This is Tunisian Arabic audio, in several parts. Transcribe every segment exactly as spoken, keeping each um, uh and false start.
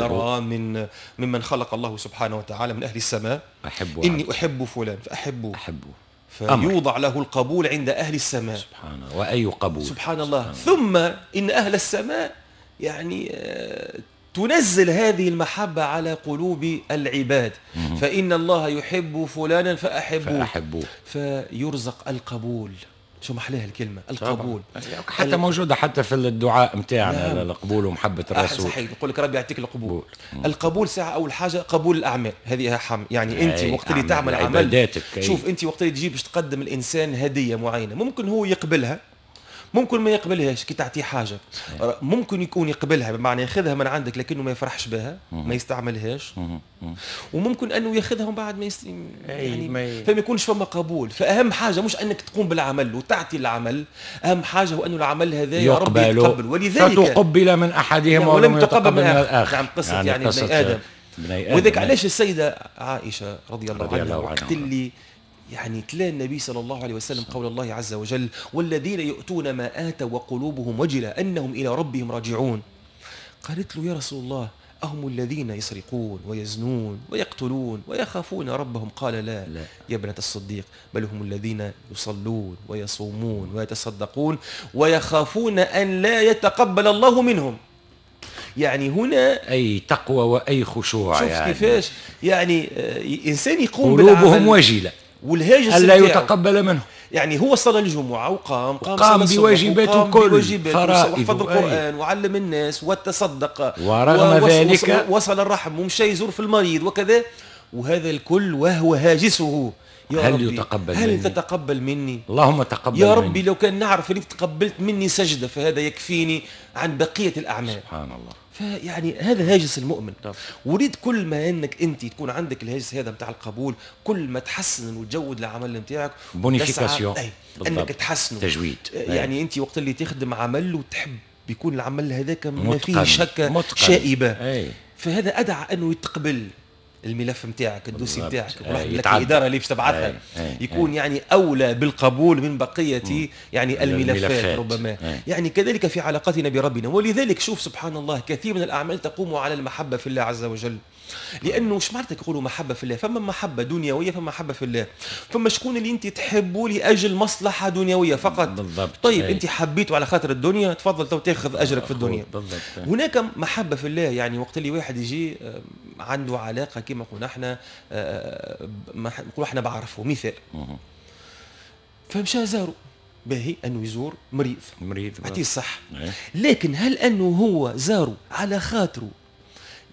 نرى من ممن خلق الله سبحانه وتعالى من أهل السماء، أحب إني أحب فلان فأحبه، أحبه، فيوضع له القبول عند أهل السماء. سبحان الله، وأي قبول، سبحان الله. ثم إن أهل السماء يعني تنزل هذه المحبة على قلوب العباد، فإن الله يحب فلانا فأحبوه، فأحبوه، فيرزق القبول. شو محلاها الكلمة، القبول. حتى موجودة حتى في الدعاء متاعنا. نعم. القبول ومحبة الرسول. صحيح، يقول لك ربي يعطيك القبول. القبول ساعة أول حاجة قبول الأعمال، هذه أهم. يعني أنت وقت اللي تعمل عمل، شوف أنت وقت اللي تجيب باش تقدم الإنسان هدية معينة، ممكن هو يقبلها، ممكن ما يقبلهاش. كي تعطيه حاجة ممكن يكون يقبلها، بمعنى ياخذها من عندك لكنه ما يفرحش بها، ما يستعملهاش، وممكن انه ياخذها ومن بعد ما يست... يعني ما ي... فما يكونش فما قبول. فاهم حاجة مش انك تقوم بالعمل وتعطي العمل، اهم حاجة هو انه العمل هذا يا ربي يتقبل. ولذلك فتقبل من احدهم ولم يتقبل من الاخر. نعم، قصة يعني, يعني ابن ادم, ادم. وذلك علاش السيدة عائشة رضي الله عنها وقت اللي يعني تلا النبي صلى الله عليه وسلم قول الله عز وجل: والذين يؤتون ما آتوا وقلوبهم وجلة أنهم إلى ربهم راجعون. قالت له: يا رسول الله، أهم الذين يسرقون ويزنون ويقتلون ويخافون ربهم؟ قال: لا, لا يا ابنة الصديق، بل هم الذين يصلون ويصومون ويتصدقون ويخافون أن لا يتقبل الله منهم. يعني هنا أي تقوى وأي خشوع. شوف يعني كيفاش يعني إنسان يقوم قلوبهم وجلة والهاجس ألا يتقبل منه. يعني هو صلى الجمعة وقام قام, قام بواجباته كل وحفظ القرآن وعلم الناس وتصدق، ورغم ذلك وصل الرحم ومشى يزور في المريض وكذا، وهذا الكل وهو هاجسه: يا هل ربي يتقبل هل مني؟ تتقبل مني؟ اللهم تقبل يا ربي مني. لو كان نعرف انك تقبلت مني سجدة فهذا يكفيني عن بقية الأعمال. سبحان الله. فيعني هذا هاجس المؤمن. وريد كل ما انك انت تكون عندك الهاجس هذا نتاع القبول، كل ما تحسن وتجود العمل نتاعك، bonification، انك تحسنه، تجويد. يعني انت وقت اللي تخدم عمل وتحب بيكون العمل هذاك ما فيه شك شائبة، أي. فهذا ادعى انه يتقبل الملف نتاعك، ال dossier نتاعك، لك الادارة اللي باش تبعثها يكون أي. يعني اولى بالقبول من بقية مم. يعني الملفات, الملفات. ربما أي. يعني كذلك في علاقتنا بربنا. ولذلك شوف سبحان الله، كثير من الاعمال تقوم على المحبة في الله عز وجل. لانه اش معناتها يقولوا محبة في الله؟ فما محبة دنيوية، فما محبة في الله، فما شكون اللي انت تحبه لاجل مصلحة دنيوية فقط. بالضبط. طيب أي. انت حبيته على خاطر الدنيا، تفضل تو تاخذ اجرك في الدنيا. بالضبط. هناك محبة في الله، يعني وقت اللي واحد يجي عنده علاقة كما قلنا احنا، نقولوا احنا بعرفه مثال، فمشى زاره، باهي انه يزور مريض، مريض يعطيه الصح، لكن هل انه هو زاره على خاطره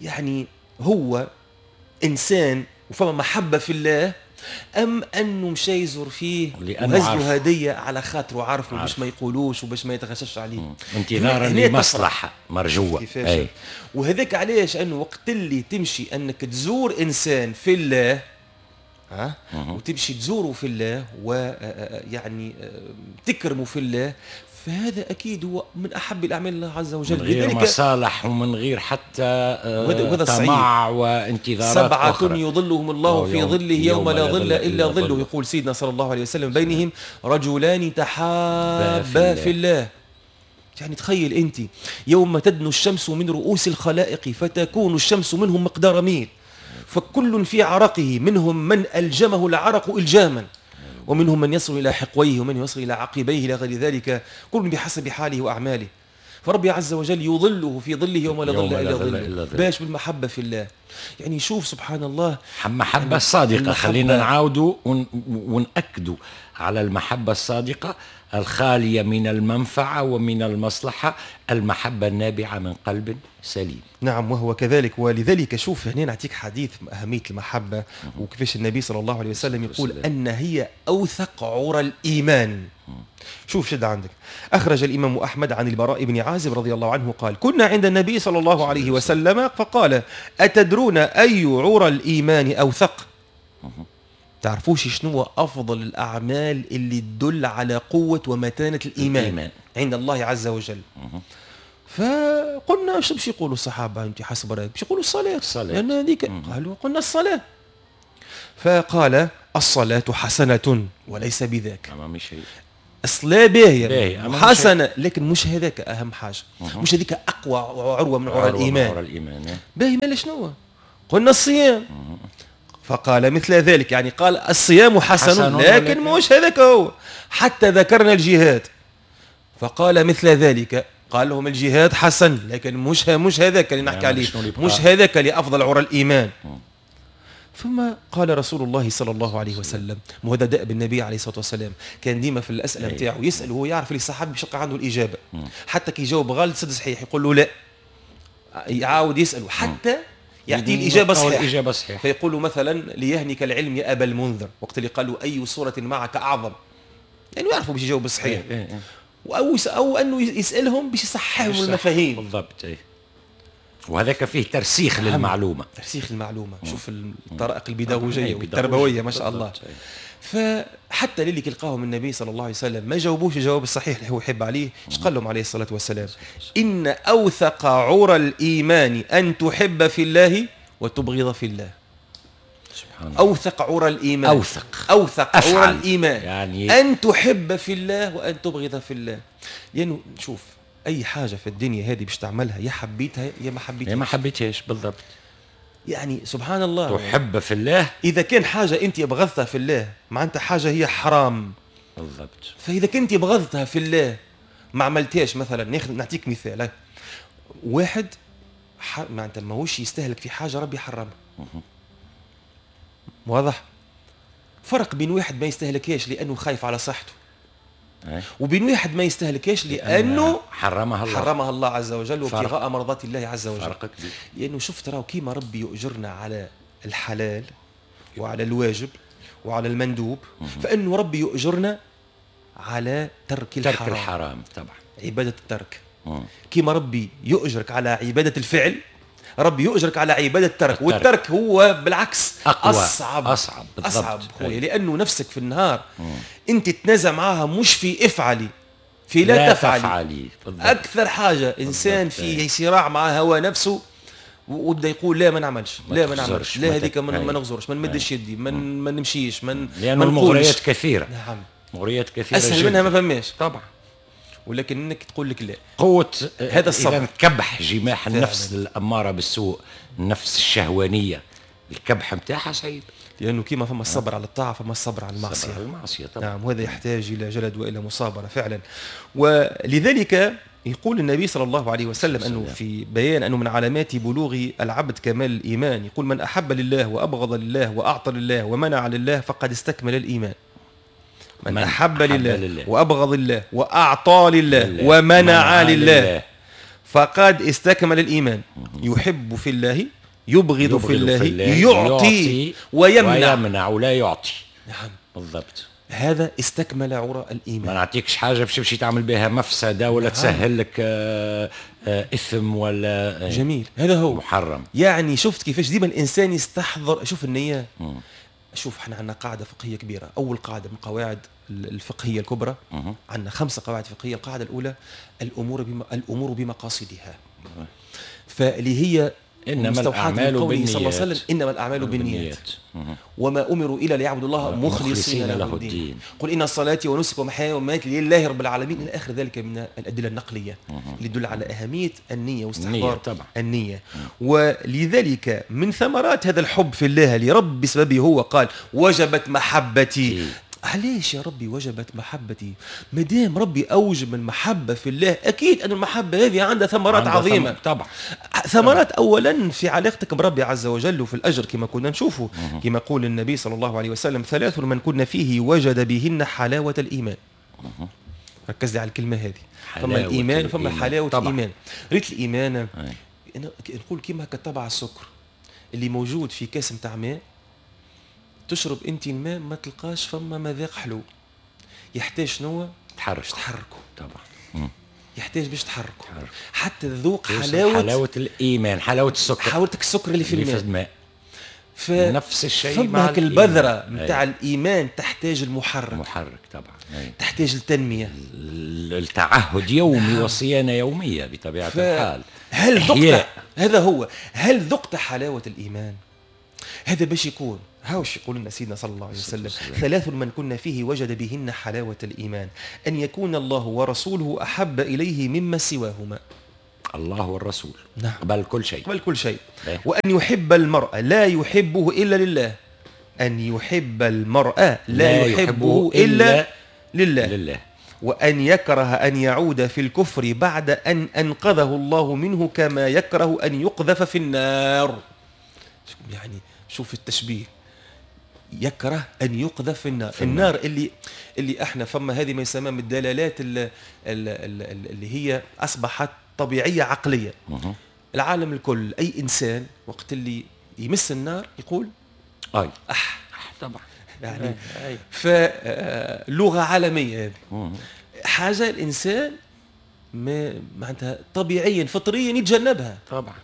يعني هو انسان وفما محبة في الله، ام انه مشى يزور فيه وهز هديه على خاطره عارفه باش ما يقولوش وباش ما يتغشش عليه، انتظارا لمصلحة مرجوه. أي. وهذاك علاش انه وقت اللي تمشي انك تزور انسان في الله، ها وتمشي تزوره في الله ويعني تكرمه في الله، فهذا اكيد هو من احب الاعمال الله عز وجل، من غير مصالح ومن غير حتى طمع وانتظارات. سبعة أخرى يظلهم الله في ظله يوم لا ظل الا ظله، يقول سيدنا صلى الله عليه وسلم: بينهم رجلان تحابا في الله. يعني تخيل انت يوم تدنو الشمس من رؤوس الخلائق فتكون الشمس منهم مقدار ميل، فكل في عرقه، منهم من ألجمه العرق إلجاما، ومنهم من يصل إلى حقويه، ومن يصل إلى عقبيه، إلى غير ذلك، كل بحسب حاله وأعماله. فربي عز وجل يظله في ظله يوم لا ظل إلا ظله، باش بالمحبة في الله. يعني شوف سبحان الله، محبة الصادقة. خلينا نعاودوا ونأكدوا على المحبة الصادقة الخالية من المنفعة ومن المصلحة، المحبة النابعة من قلب سليم. نعم، وهو كذلك. ولذلك شوف هنا نعطيك حديث أهمية المحبة، وكيفاش النبي صلى الله عليه وسلم يقول أن هي أوثق عرى الإيمان. شوف شد عندك. أخرج الإمام أحمد عن البراء بن عازب رضي الله عنه قال: كنا عند النبي صلى الله عليه وسلم فقال: أتدرون أي عرى الإيمان أوثق؟ تعرفوش شنو أفضل الأعمال اللي تدل على قوة ومتانة الإيمان, الإيمان عند الله عز وجل؟ فقلنا شو باش يقولوا الصحابة؟ أنت حسب رأيك باش يقولوا الصلاة، لأن هذيك. قالوا قلنا الصلاة. فقال: الصلاة حسنة وليس بذاك. الصلاة باهيه حسنه، لكن مش هذاك اهم حاجة، مش هذيك اقوى عروة من عرى الايمان. عرى الايمان باهي، مالا شنو؟ قلنا الصيام. فقال مثل ذلك، يعني قال الصيام حسن, حسن لكن مش هذاك هو. حتى ذكرنا الجهاد فقال مثل ذلك، قال لهم الجهاد حسن لكن مش مش هذاك اللي نحكي عليه، مش هذاك اللي افضل عرى الايمان. ثم قال رسول الله صلى الله عليه وسلم، وهذا دأب النبي عليه الصلاة والسلام، كان ديما في الاسئلة نتاعو يسال وهو يعرف اللي الصحابي باش يلقى عنده الاجابة، حتى كي يجاوب غلط صد صحيح يقول له لا، يعاود يساله حتى يعطيه الاجابة الصحيحة. الاجابة الصحيحة. فيقول مثلا ليهنك العلم يا ابا المنذر، وقت اللي قالوا اي سورة معك اعظم، يعني يعرفوا باش يجاوب الصحيح. او او انه يسالهم باش يصححهم المفاهيم. بالضبط. ايه. وهذاك فيه ترسيخ للمعلومة. ترسيخ المعلومة. شوف الطرائق البيداغوجيه والتربوية ما شاء الله. فحتى للي كيلقاهم النبي صلى الله عليه وسلم ما جاوبوش الجواب الصحيح اللي هو يحب عليه، اش قال لهم عليه الصلاة والسلام؟ ان اوثق عرى الايمان ان تحب في الله وتبغض في الله. سبحان الله. اوثق عرى الايمان، اوثق اوثق عرى الايمان، يعني ان تحب في الله وان تبغض في الله. لانه شوف اي حاجة في الدنيا هذه باش تعملها يا حبيتها يا ما حبيتهاش. يا ما حبيتهاش بالضبط. يعني سبحان الله، تحب في الله. اذا كان حاجة انت بغضتها في الله معناتها حاجة هي حرام. بالضبط. فاذا كنت بغضتها في الله ما عملتهاش، مثلا ناخذ نعطيك مثال، واحد معناتها ماهوش يستهلك في حاجة ربي حرمها. واضح؟ فرق بين واحد ما يستهلكهاش لانه خايف على صحته، وبين واحد ما يستهلكهاش لانه حرمها الله، حرمها الله عز وجل وابتغاء مرضات الله عز وجل. فرق كبير. لانه شفت راهو كيما ربي يؤجرنا على الحلال وعلى الواجب وعلى المندوب، فانه ربي يؤجرنا على ترك الحرام. ترك الحرام طبعا، عباده الترك. كيما ربي يؤجرك على عباده الفعل، ربي يؤجرك على عبادة الترك، والترك هو بالعكس أقوى، أصعب أصعب بالضبط. أصعب خويا، لأنه نفسك في النهار مم. أنت تتنازع معها مش في افعلي، في لا, لا تفعلي, تفعلي. أكثر حاجة إنسان في صراع مع هوى نفسه وبدا يقول لا ما نعملش، لا ما نعملش، لا هذيك ما نغزرش، ما نمدش يدي، ما ما نمشيش، ما لأنه المغريات كثيرة. نعم، مغريات كثيرة، أسهل منها ما فماش طبعا، ولكن انك تقول لك لا. قوة هذا الصبر. إذا كبح جماح النفس الأمارة بالسوء، النفس الشهوانية، الكبح نتاعها صعيب. لأنه كيما فما الصبر على الطاعة فما الصبر على المعصية. الصبر على المعصية طبعا. نعم، وهذا يحتاج إلى جلد وإلى مصابرة فعلا. ولذلك يقول النبي صلى الله عليه وسلم أنه في بيان أنه من علامات بلوغ العبد كمال الإيمان، يقول من أحب لله وأبغض لله وأعطى لله ومنع لله فقد استكمل الإيمان. من, من أحب, أحب لله, لله وأبغض لله وأعطى لله, لله ومنع لله, لله فقد استكمل الإيمان. يحب في الله، يبغض, يبغض في الله, في الله، يعطي, يعطي ويمنع، ويمنع ولا يعطي. نعم بالضبط. هذا استكمل عرى الإيمان. ما نعطيكش حاجة باش تمشي تعمل بها مفسدة ولا نعم. تسهل لك آه آه إثم ولا آه جميل. هذا هو محرم. يعني شفت كيفاش ديما الإنسان يستحضر. شوف النية. مم. شوف احنا عندنا قاعدة فقهية كبيرة، أول قاعدة من قواعد الفقهية الكبرى، عندنا خمسة قواعد فقهية. القاعدة الأولى الأمور بما الأمور بمقاصدها، فاللي هي إنما الأعمال بالنيات صلى الله عليه وسلم، إنما الأعمال بالنيات وما أمروا إلا ليعبدوا الله مخلصين له الدين، قل إن صلاتي ونسكي ومحياي ومماتي لله رب العالمين، إلى آخر ذلك من الأدلة النقلية اللي تدل على أهمية النية واستحضار النية. ولذلك من ثمرات هذا الحب في الله اللي رب بسببه هو قال وجبت محبتي. علاش يا ربي وجبت محبتي؟ ما دام ربي اوجب المحبة في الله، اكيد ان المحبة هذه عندها ثمرات عظيمة. ثم... طبعا ثمرات اولا في علاقتك بربي عز وجل وفي الاجر كما كنا نشوفه، كما يقول النبي صلى الله عليه وسلم ثلاث من كنا فيه وجد بهن حلاوة الايمان. ركز لي على الكلمة هذه، فما الايمان وفما حلاوة طبعا. الايمان. ريت الايمان نقول كما كتبع السكر اللي موجود في كاس نتاع ماء، تشرب انت الماء ما تلقاش فما مذاق حلو، يحتاج شنو؟ تحرك تحركه طبعا. مم. يحتاج باش تحركه حتى تذوق حلاوة حلاوة الايمان، حلاوة السكر، حلاوة السكر اللي في الماء, الماء. ف... نفس الشيء مع البذرة نتاع الايمان تحتاج المحرك، المحرك طبعا. أي. تحتاج التنمية، التعهد يومي وصيانة يومية بطبيعة ف... الحال. هل ذقت هذا هو، هل ذقت حلاوة الايمان؟ هذا باش يكون هاوش يقول لنا سيدنا صلى الله عليه وسلم: ثلاث من كنا فيه وجد بهن حلاوة الإيمان، أن يكون الله ورسوله أحب إليه مما سواهما. الله والرسول، نعم، قبل كل شيء، قبل كل شيء. وأن يحب المرء لا يحبه إلا لله، أن يحب المرء لا, لا يحبه إلا, إلا لله. لله. وأن يكره أن يعود في الكفر بعد أن أنقذه الله منه كما يكره أن يقذف في النار. يعني شوف التشبيه، يكره أن يقذف في النار، في النار اللي اللي احنا فما هذه ما يسمى من الدلالات اللي, اللي هي أصبحت طبيعية عقلية. العالم الكل أي إنسان وقت اللي يمس النار يقول أي أح، طبعا، يعني فلغة عالمية هذه، حاجة الإنسان ما معناتها طبيعيا فطريا يتجنبها طبعا.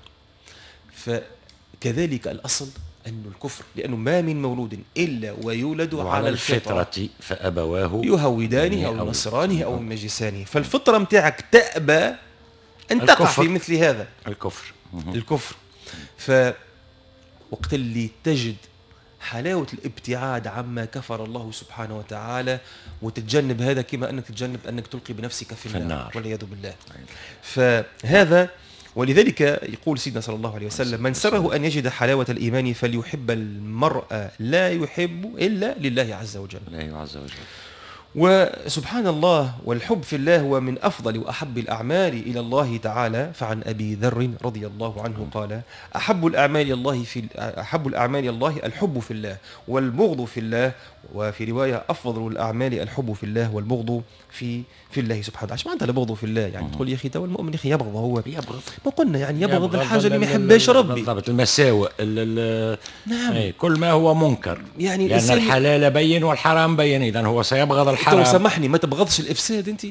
فكذلك الأصل أن الكفر، لأنه ما من مولود إلا ويولد وعلى على الفطرة، الفطرة فأبواه يهودانه أو نصرانه أو مجسانه. فالفطرة متاعك تأبى أن تقع في مثل هذا الكفر. الكفر. فوقت اللي تجد حلاوة الابتعاد عما كفر الله سبحانه وتعالى وتتجنب هذا، كما أنك تتجنب أنك تلقي بنفسك في النار والعياذ بالله. فهذا، ولذلك يقول سيدنا صلى الله عليه وسلم: من سره أن يجد حلاوة الإيمان فليحب المرء لا يحب إلا لله عز وجل. الله عز وجل. وسبحان الله، والحب في الله هو من أفضل وأحب الأعمال إلى الله تعالى. فعن أبي ذر رضي الله عنه قال: أحب الأعمال الله في أحب الأعمال الله الحب في الله والبغض في الله. وفي رواية: أفضل الأعمال الحب في الله والبغض في في الله سبحانه وتعالى. ايش معناتها البغض في الله؟ يعني تقول يا أخي تو المؤمن يا أخي يبغض، هو يبغض، ما قلنا يعني يبغض, يبغض الحاجة اللي ما يحبهاش ربي، بالضبط، المساوئ، نعم، ايه، كل ما هو منكر، يعني لأن الحلال بين والحرام بين، إذا هو سيبغض الحرام. سامحني، ما تبغضش الافساد انت؟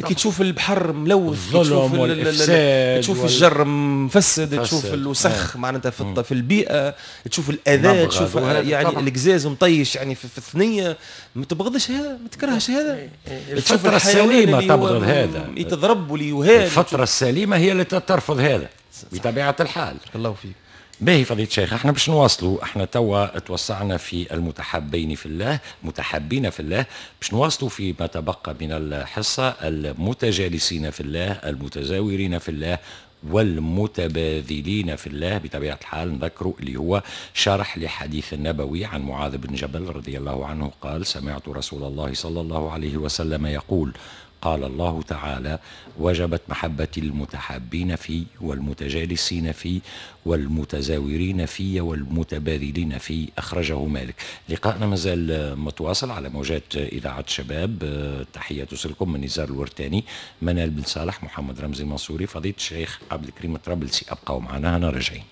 كي تشوف البحر ملوث، الظلم والافساد، تشوف وال... الجر مفسد، تشوف الوسخ معناتها في, في البيئة، تشوف الاذى، تشوف يعني القزاز مطيش يعني في, في الثنية، ما تبغضش هذا، ما تكرهش هذا. الفترة السليمة تبغض هذا، يتضرب وليهان. الفترة السليمة هي اللي ترفض هذا بطبيعة الحال. الله فيك. باهي فضيلة الشيخ، احنا باش نواصلوا، احنا توا توسعنا في المتحبين في الله، متحبين في الله، باش نواصلوا في ما تبقى من الحصة: المتجالسين في الله، المتزاورين في الله، والمتباذلين في الله. بطبيعة الحال نذكروا اللي هو شرح لحديث النبوي عن معاذ بن جبل رضي الله عنه قال: سمعت رسول الله صلى الله عليه وسلم يقول: قال الله تعالى: وجبت محبة المتحابين في والمتجالسين في والمتزاورين في والمتبادلين في. أخرجه مالك. لقاءنا مازال متواصل على موجات إذاعة شباب. تحية توصلكم من نزار الورتاني، منال بن صالح، محمد رمزي المنصوري، فضيلة الشيخ عبد الكريم الطرابلسي. أبقوا معنا، هنا راجعين.